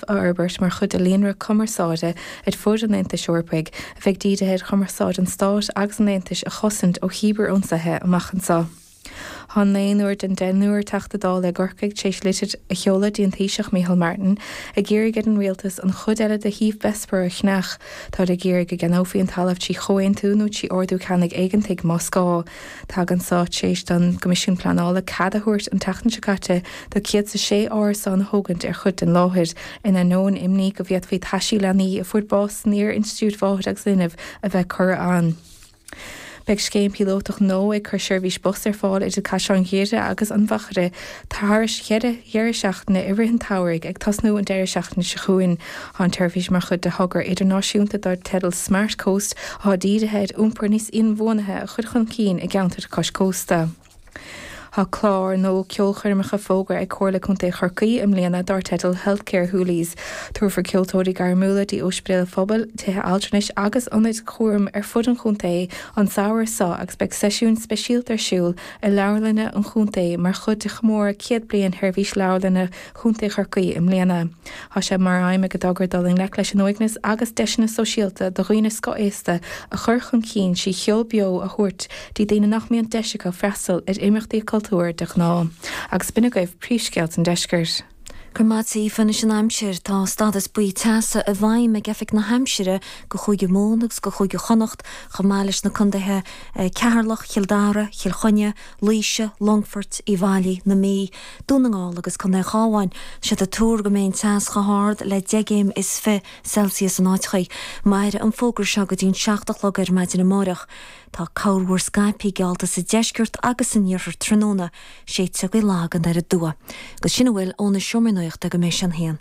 A fhorbairt mar chuid de líonra cumarsáide ar fud an Aontais Eorpaigh a bheidh dírithe ar chumarsáid an Stáit agus an Aontais a chosaint ó chíbear-ionsaithe amach anseo. Tá naonúr den deichniúr Teachta Dála i gCorcaigh tar éis litir a sheoladh dtí an Taoiseach Micheál Martin ag iarraidh ar an Rialtas an chuid eile de shuíomh Bessborough a cheannach. Táid ag iarraidh go gceannófaí an talamh trí chomhaontú nó trí ordú ceannaigh éigeantaigh más gá. Tagann seo tar éis don gCoimisiún Pleanála cead a thabhairt an tseachtain seo caite do 106 árasán a thógaint ar chuid den láthair, in ainneoin imní go bhféadfaí taisí leanaí a fuair bás san iar-Institiúid Mháthar agus Linbh a bheith curtha ann. Beidh scéim píolótach nua ag cur seirbhís bus ar fáil idir Caisleán Ghuaire agus an Mhachaire thar cheithre dheireadh seachtaine i rith an tsamhraidh, ag tosnú an deireadh seachtaine seo chugainn. Tá an tseirbhís mar chuid de thogra idirnáisiúnta dar teideal Smart Coast atá dírithe ar iompar níos inbhuanaithe a chur chun cinn i gceantair cois cósta. Tá clár nua ceolchoirmeacha fógartha ag Comhairle Contae Chorcaí i mbliana dar teideal Healthcare Hoolies. Tabharfar ceoltóirí gairmiúla dtí ospidéil phobail, tithe altranais agus ionaid chúraim ar fud an chontae an samhradh seo agus beidh seisiúin speisialta ar siúl i leabharlanna an chontae mar chuid de chomóradh 100 bliain Sheirbhís Leabharlainne Chontae Chorcaí i mbliana. Tá sé mar aidhm ag an dtogra dul i ngleic leis an uaigneas agus deiseanna sóisialta do dhaoine scothaosta a chur chun cinn trí cheol beo a thabhairt dtí daoine nach mbíonn deis acu freastal ar imeachtaí cultúir de ghnáth. Agus b'in agaibh príomhscéalta an deiscirt. Go raibh maith agat Aoife. Anois an aimsir. Tá stádas buí teasa i bhfeidhm ag Oifig na hAimsire do Chúige Mumhan agus do Chúige Chonnacht chomh maith leis na contaetha Ceatharlach, Chill Dara, Chill Chainnigh, Laoise, Longfoirt, Uíbh Fhailí, na Mí, Dún na nGall agus Contae an Chabháin. Tá siad ag tuar go mbeidh an teas chomh hard le 10 gcéim is 20 Celsius in áiteachaí. Mairfidh an fógra seo go dtí'n 7 a chlog ar maidin amáireach. Tá corrmhúr scaipthe geallta sa deisceart agus san iarthar tráthnóna. Séidfidh gaoth lag anoir aduaidh. Agus sin a bhfuil óna Seomra Nuachta go mbeidh sé an haon.